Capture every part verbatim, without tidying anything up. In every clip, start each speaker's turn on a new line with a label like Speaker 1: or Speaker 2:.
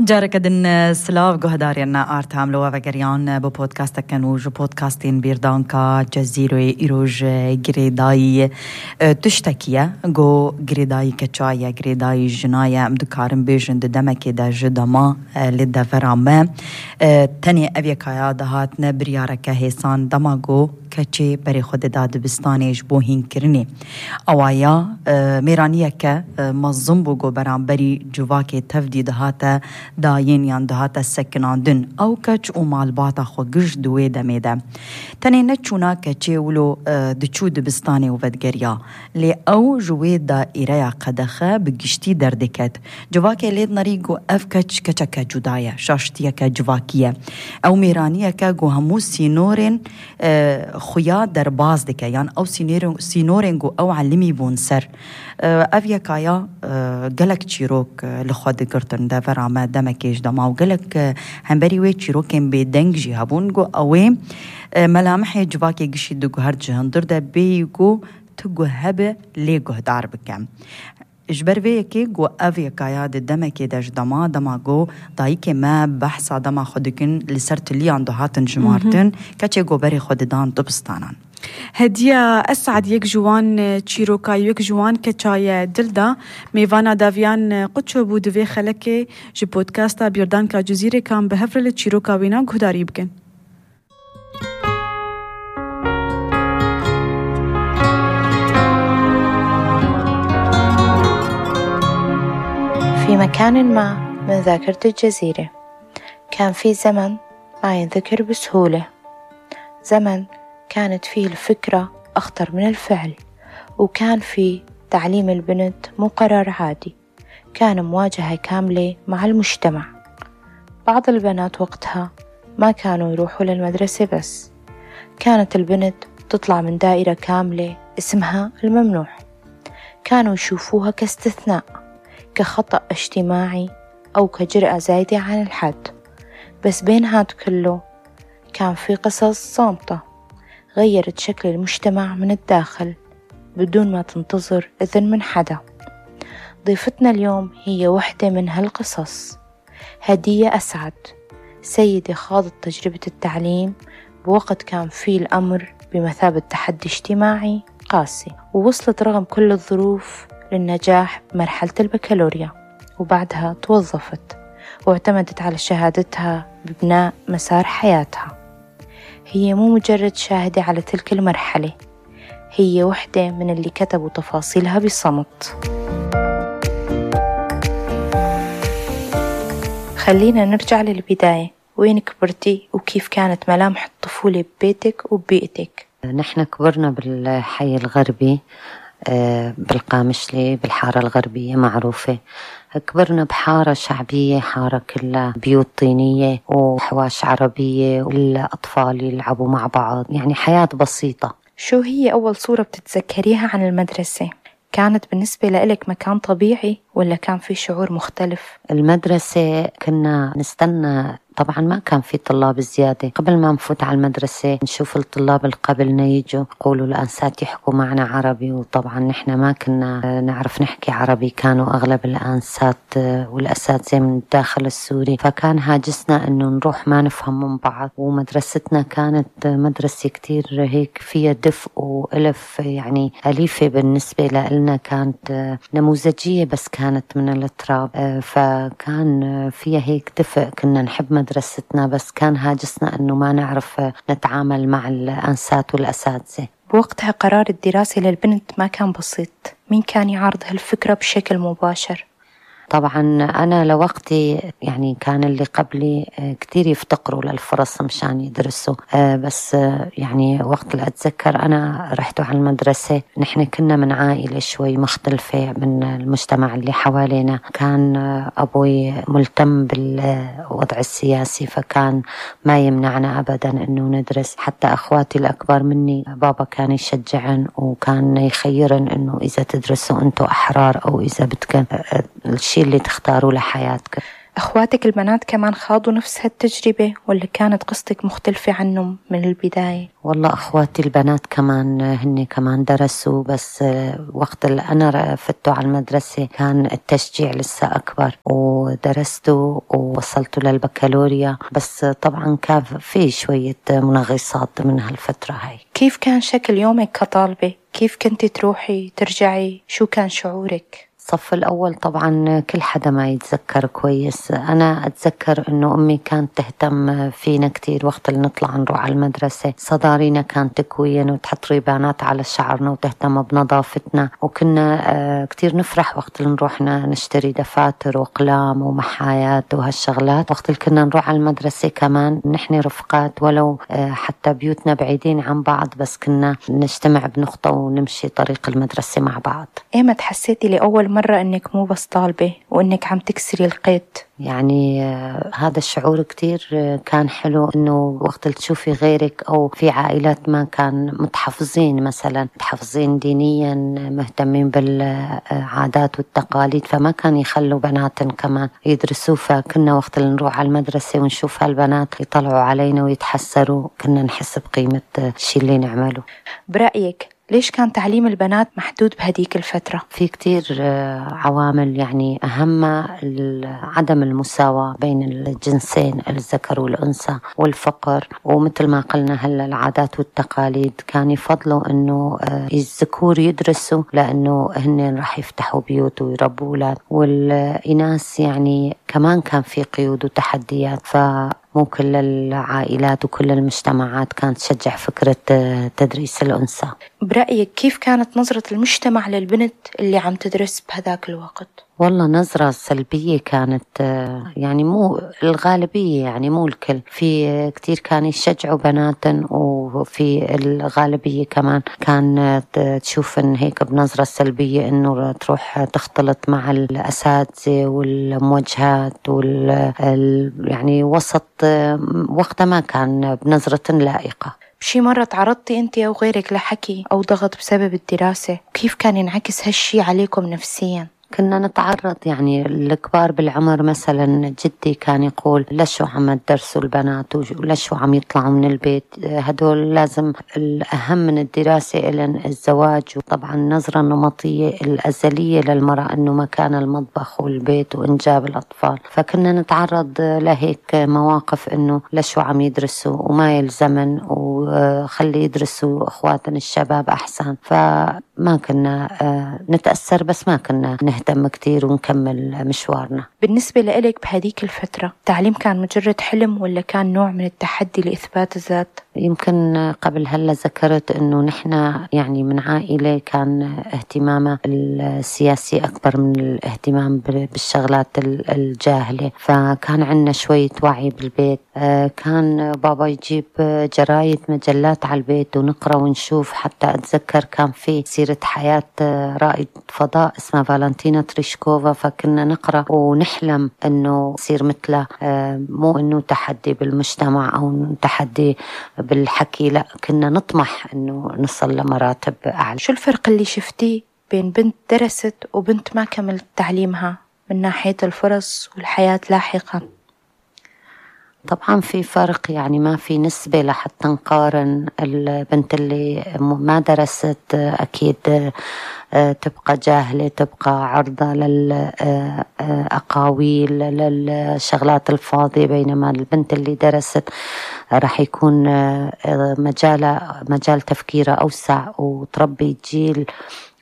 Speaker 1: جارك دن سلاف گوهدارینا آرتام لوا وگریان با پودکاست کنوج و پودکاستین بیردانکا جزیره ایروج گریدای تشتکیه گو گریدای کچای گریدای جنای امدکارم بیجند دمکی دا جدما لده فرامه تنی اویکایا دهات نبریارکه حسان دماغو کچه بری خود داد بستانیش بوهین کرنی اوایا میرانیه که مظلوم بگو برام بری جواکی تفدی دهات داین یان دهات سکناندن او کچ او مالباتا خو گش دوی دمیده تنی نچونا کچه ولو دچو دبستانی و ودگریا لی او جوی دا ایریا قدخه بگشتی دردکت جواکی لید نریگو اف کچ کچکه جدایه شاشتیه که جواکیه او میرانیه که گو همو سینورین خویا در باز دکه یان او سینورین گو او علمی بون سر اویا کایا گلک چیروک لخواد گرتن ده فرامه دمکیش دما و گلک همبری وی چیروکن به دنگ جی هبون گو اوی ملامحی جواکی گشی دو گو هر جهندر ده بیگو تو گو هبه لی گو دار بکم اجبر وی که گو اوی کایا ده دمکی دش دما دما گو دایی که ما بحثا دما خودکن لسر تلیان دو هاتن جمارتن کچه گو بری خود دان دبستانان
Speaker 2: هدیه اسعد یک جوان چیروکای یک جوان کچای دلدا میوانا داویان قدشو بود وی خلکه جی پودکاستا بیردان کا جزیره کام به هفرل چیروکا وینا گهداری بکن.
Speaker 3: في مكان ما من ذاكرة الجزيرة كان في زمن ما ينذكر بسهولة، زمن كانت فيه الفكرة أخطر من الفعل، وكان فيه تعليم البنت مو قرار عادي، كان مواجهة كاملة مع المجتمع. بعض البنات وقتها ما كانوا يروحوا للمدرسة بس، كانت البنت تطلع من دائرة كاملة اسمها الممنوع، كانوا يشوفوها كاستثناء، كخطأ اجتماعي أو كجرأة زايدة عن الحد. بس بين هاد كله كان في قصص صامتة غيرت شكل المجتمع من الداخل بدون ما تنتظر إذن من حدا. ضيفتنا اليوم هي وحدة من هالقصص، هدية أسعد، سيدة خاضت تجربة التعليم بوقت كان فيه الأمر بمثابة تحدي اجتماعي قاسي، ووصلت رغم كل الظروف للنجاح بمرحلة البكالوريا، وبعدها توظفت واعتمدت على شهادتها ببناء مسار حياتها. هي مو مجرد شاهدة على تلك المرحلة، هي وحدة من اللي كتبوا تفاصيلها بصمت. خلينا نرجع للبداية، وين كبرتي وكيف كانت ملامح الطفولة ببيتك وببيئتك؟
Speaker 4: نحن كبرنا بالحي الغربي بالقامشلي بالحارة الغربية معروفة. كبرنا بحارة شعبية، حارة كلها بيوت طينية وحواش عربية والأطفال يلعبوا مع بعض، يعني حياة بسيطة.
Speaker 3: شو هي أول صورة بتتذكريها عن المدرسة؟ كانت بالنسبة لإلك مكان طبيعي ولا كان في شعور مختلف؟
Speaker 4: المدرسة كنا نستنى، طبعا ما كان في طلاب زيادة. قبل ما نفوت على المدرسة نشوف الطلاب اللي قبلنا يجوا يقولوا الأنسات يحكوا معنا عربي، وطبعا نحن ما كنا نعرف نحكي عربي، كانوا أغلب الأنسات والأساتذة من الداخل السوري، فكان هاجسنا إنه نروح ما نفهم من بعض. ومدرستنا كانت مدرسة كتير هيك فيها دفء وألف، يعني أليفة بالنسبة لنا، كانت نموذجية بس كانت من التراب، فكان فيها هيك دفء، كنا نحب مدرستنا، بس كان هاجسنا أنه ما نعرف نتعامل مع الأنسات والأساتذة.
Speaker 3: بوقتها قرار الدراسة للبنت ما كان بسيط، مين كان يعارض هالفكرة بشكل مباشر؟
Speaker 4: طبعا أنا لوقتي يعني كان اللي قبلي كتير يفتقروا للفرص مشان يدرسوا، بس يعني وقت اللي أتذكر أنا رحت على المدرسة، نحن كنا من عائلة شوي مختلفة من المجتمع اللي حوالينا. كان أبوي ملتم بالوضع السياسي، فكان ما يمنعنا أبدا أنه ندرس. حتى أخواتي الأكبر مني بابا كان يشجعن وكان يخيرن أنه إذا تدرسوا أنتوا أحرار، أو إذا بدكن الشيء اللي تختاروا لحياتك.
Speaker 3: أخواتك البنات كمان خاضوا نفس هالتجربة ولا كانت قصتك مختلفة عنهم من البداية؟
Speaker 4: والله أخواتي البنات كمان هن كمان درسوا، بس وقت اللي أنا فتوا على المدرسة كان التشجيع لسه أكبر، ودرستوا ووصلتوا للبكالوريا، بس طبعا كان في شوية منغصات من هالفترة هاي.
Speaker 3: كيف كان شكل يومك كطالبة؟ كيف كنت تروحي ترجعي؟ شو كان شعورك؟
Speaker 4: الصف الأول طبعا كل حدا ما يتذكر كويس. أنا أتذكر أنه أمي كانت تهتم فينا كتير وقت اللي نطلع نروح على المدرسة. صدارينا كانت تكوين وتحط ريبانات على شعرنا وتهتم بنظافتنا، وكنا كتير نفرح وقت اللي نروح نشتري دفاتر وقلام ومحايات وهالشغلات. وقت اللي كنا نروح على المدرسة كمان نحن رفقات، ولو حتى بيوتنا بعيدين عن بعض بس كنا نجتمع بنقطة ونمشي طريق المدرسة مع بعض.
Speaker 3: إيمت حسيتي لأول مرة أنك مو بس طالبة وأنك عم تكسري القيد؟
Speaker 4: يعني آه هذا الشعور كتير آه كان حلو، إنه وقت اللي تشوفي غيرك أو في عائلات ما كان متحفظين، مثلا متحفظين دينيا مهتمين بالعادات والتقاليد، فما كان يخلوا بناتن كمان يدرسوا. فكنا وقت اللي نروح على المدرسة ونشوف هالبنات يطلعوا علينا ويتحسروا كنا نحس بقيمة الشيء اللي نعمله.
Speaker 3: برأيك ليش كان تعليم البنات محدود بهديك الفترة؟
Speaker 4: في كتير عوامل، يعني أهمها عدم المساواة بين الجنسين الذكر والأنثى والفقر، ومثل ما قلنا هلا العادات والتقاليد كان يفضلوا إنه الذكور يدرسوا لأنه هن راح يفتحوا بيوت ويربوا أولاد، والإناث يعني كمان كان في قيود وتحديات، ف مو كل العائلات وكل المجتمعات كانت تشجع فكرة تدريس الأنثى.
Speaker 3: برأيك كيف كانت نظرة المجتمع للبنت اللي عم تدرس بهذاك الوقت؟
Speaker 4: والله نظرة سلبية كانت، يعني مو الغالبية، يعني مو الكل. في كتير كان يشجعوا بناتن، وفي الغالبية كمان كان تشوف إن هيك بنظرة سلبية إنه تروح تختلط مع الأساتذة والموجهات وال يعني وسط وقتها ما كان بنظرة لائقة.
Speaker 3: بشي مرة تعرضتي أنت أو غيرك لحكي أو ضغط بسبب الدراسة؟ كيف كان ينعكس هالشي عليكم نفسياً؟
Speaker 4: كنا نتعرض، يعني الكبار بالعمر مثلا جدي كان يقول لشو عم تدرسوا البنات ولشو عم يطلعوا من البيت، هدول لازم الأهم من الدراسة إلن الزواج. وطبعا النظرة النمطية الأزلية للمرأة أنه مكان المطبخ والبيت وإنجاب الأطفال، فكنا نتعرض لهيك مواقف أنه لشو عم يدرسوا وما يلزمن وخلي يدرسوا أخواتنا الشباب أحسن. فما كنا نتأثر بس ما كنا نهتم كتير ونكمل مشوارنا.
Speaker 3: بالنسبة لإلك بهديك الفترة التعليم كان مجرد حلم ولا كان نوع من التحدي لإثبات الذات؟
Speaker 4: يمكن قبل هلا ذكرت انه نحن يعني من عائلة كان اهتمامها السياسي اكبر من الاهتمام بالشغلات الجاهلة، فكان عندنا شوية وعي بالبيت. كان بابا يجيب جرايد مجلات على البيت ونقرأ ونشوف، حتى اتذكر كان في سيرة حياة رائد فضاء اسمها فالنتينا تريشكوفا، فكنا نقرأ ونحلم انه يصير مثله، مو انه تحدي بالمجتمع او تحدي بالحكي، لا كنا نطمح انه نصل لمراتب اعلى.
Speaker 3: شو الفرق اللي شفتيه بين بنت درست وبنت ما كملت تعليمها من ناحية الفرص والحياة لاحقا؟
Speaker 4: طبعا في فرق، يعني ما في نسبة لحتى نقارن. البنت اللي ما درست أكيد تبقى جاهلة، تبقى عرضة للأقاويل للشغلات الفاضية، بينما البنت اللي درست راح يكون مجال مجال تفكيرها أوسع وتربي جيل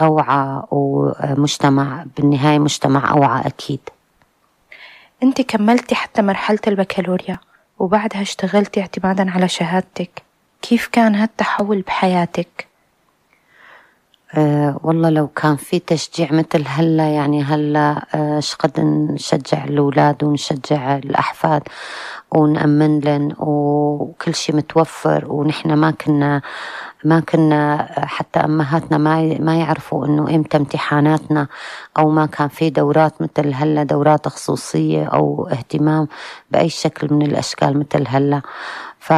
Speaker 4: أوعى ومجتمع بالنهاية مجتمع أوعى أكيد.
Speaker 3: أنت كملتي حتى مرحلة البكالوريا وبعدها اشتغلتي اعتمادا على شهادتك، كيف كان هالتحول بحياتك؟
Speaker 4: أه والله لو كان في تشجيع مثل هلا، يعني هلا أه شقد نشجع الأولاد ونشجع الأحفاد ونأمن لن وكل شيء متوفر، ونحن ما كنا ما كنا حتى أمهاتنا ما ما يعرفوا إنه إمتى امتحاناتنا، أو ما كان في دورات مثل هلا، دورات خصوصية أو اهتمام بأي شكل من الأشكال مثل هلا. ف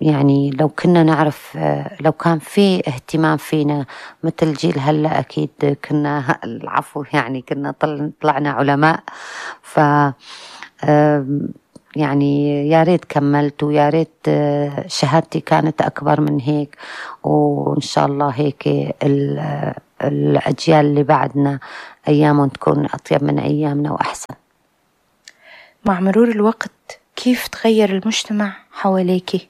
Speaker 4: يعني لو كنا نعرف، لو كان في اهتمام فينا مثل جيل هلا أكيد كنا العفو يعني كنا طلعنا علماء. ف يعني يا ريت كملت، ويا ريت شهادتي كانت أكبر من هيك، وإن شاء الله هيك الأجيال اللي بعدنا أيامهم تكون أطيب من أيامنا وأحسن.
Speaker 3: مع مرور الوقت كيف تغير المجتمع حواليكي؟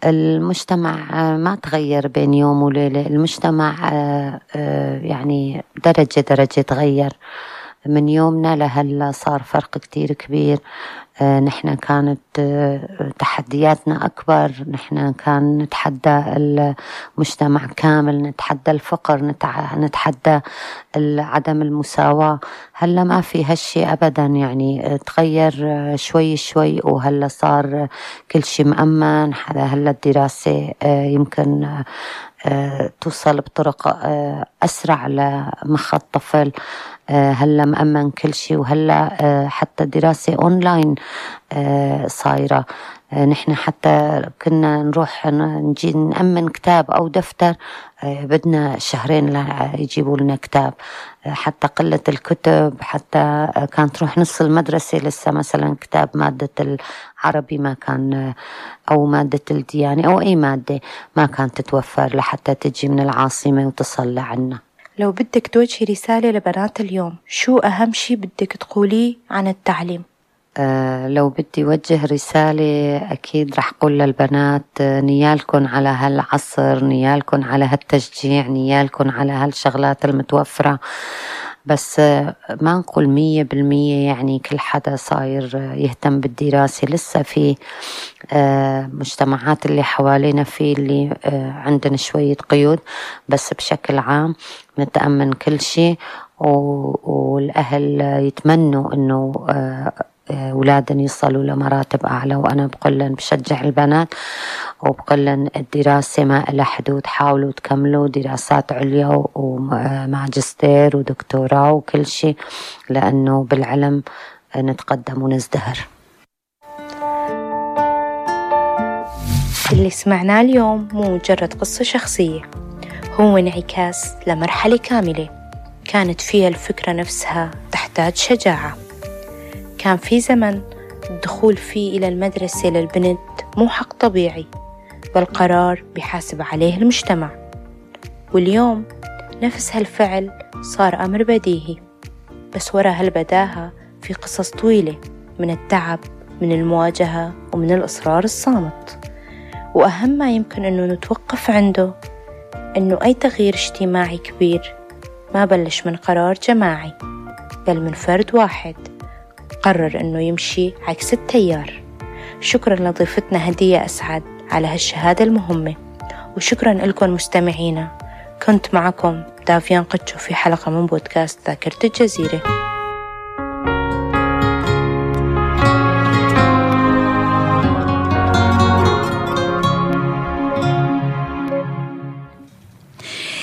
Speaker 4: المجتمع ما تغير بين يوم وليلة، المجتمع يعني درجة درجة تغير من يومنا لهلا، صار فرق كتير كبير. نحن كانت تحدياتنا أكبر، نحن كان نتحدى المجتمع كامل، نتحدى الفقر، نتحدى عدم المساواة. هلا ما في هالشي أبدا، يعني تغير شوي شوي، وهلا صار كل شي مأمن. هلا الدراسة يمكن توصل بطرق أسرع لمخ الطفل، هلا مأمن كل شيء، وهلا حتى دراسة أونلاين صايرة. نحن حتى كنا نروح نجي نأمن كتاب أو دفتر بدنا شهرين يجيبوا لنا كتاب، حتى قلة الكتب، حتى كانت تروح نص المدرسة لسه مثلا كتاب مادة العربي ما كان، أو مادة الديانة أو أي مادة ما كانت تتوفر لحتى تجي من العاصمة وتصل لعنا.
Speaker 3: لو بدك توجهي رسالة لبنات اليوم، شو أهم شي بدك تقوليه عن التعليم؟
Speaker 4: أه لو بدي وجه رسالة أكيد رح قول للبنات نيالكن على هالعصر، نيالكن على هالتشجيع، نيالكن على هالشغلات المتوفرة، بس ما نقول مية بالمية يعني كل حدا صاير يهتم بالدراسة. لسه في مجتمعات اللي حوالينا في اللي عندنا شوية قيود، بس بشكل عام نتأمن كل شيء، والأهل يتمنوا أنه أولادهم يصلوا لمراتب أعلى. وأنا بقولن بشجع البنات وبقولن الدراسة ما لها حدود، حاولوا تكملوا دراسات عليا وماجستير ودكتوراه وكل شيء، لأنه بالعلم نتقدم ونزدهر.
Speaker 3: اللي سمعناه اليوم مو مجرد قصة شخصية، هو انعكاس لمرحلة كاملة كانت فيها الفكرة نفسها تحتاج شجاعة. كان في زمن الدخول فيه إلى المدرسة للبنت مو حق طبيعي، بل قرار بيحاسب عليه المجتمع. واليوم نفس هالفعل صار أمر بديهي، بس وراء هالبداهة في قصص طويلة من التعب، من المواجهة، ومن الإصرار الصامت. وأهم ما يمكن أنه نتوقف عنده أنه أي تغيير اجتماعي كبير ما بلش من قرار جماعي، بل من فرد واحد قرر أنه يمشي عكس التيار. شكرا لضيفتنا هدية أسعد على هالشهادة المهمة، وشكرا لكم مستمعينا. كنت معكم دافيان قتشو في حلقة من بودكاست ذاكرة الجزيرة.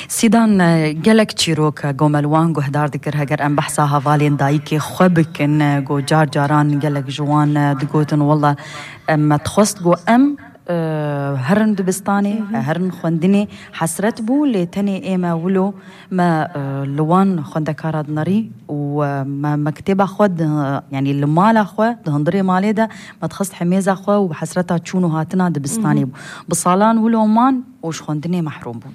Speaker 1: سيدان جلك تشيروكا جو ملوان جو هدار ذكر هجر أم بحثها فالين دايكي خبكن جو جار جاران جلك جوان دقوتن والله ما تخصت جو أم هرن دبستاني هرن خندني حسرت بو لتاني إيما ولو ما لوان خندكارد ناري وما مكتبة خود يعني المال خو دهندري مالي ده ما تخصت حميزة خو وحسرتها تشونو هاتنا دبستاني بصالان ولو مان وش خندني محروم بو.